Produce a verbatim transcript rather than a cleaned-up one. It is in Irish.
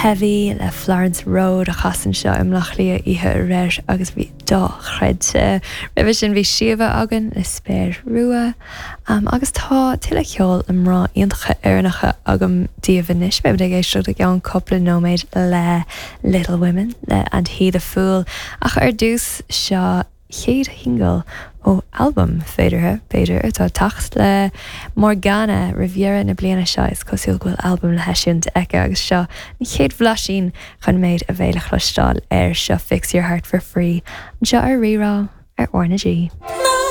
Heavy le Florence Road a chas anseo i mBleá Cliath oíche aréir agus bhí dochreidte. Roimhe sin bhí Síomha againn le Spéir Rua um, agus tá tuilleadh ceoil le mná iontacha Éireannacha agam daoibh anois beimid ag éisteacht i gceann cúpla nóiméad le Little Women le And He the Fool ach ar dtús seo chéad shingil ó albam féideartha b'fhéidir atá ag teacht le Morgana roimh dheireadh na bliana seo is cosúil go bhfuil albam le heisiúint aici agus seo an chéad bhlaisín chun méid a bheidh le cloisteáil air seo Fix Your Heart for Free anseo ar Rí-Rá ar R na G. No!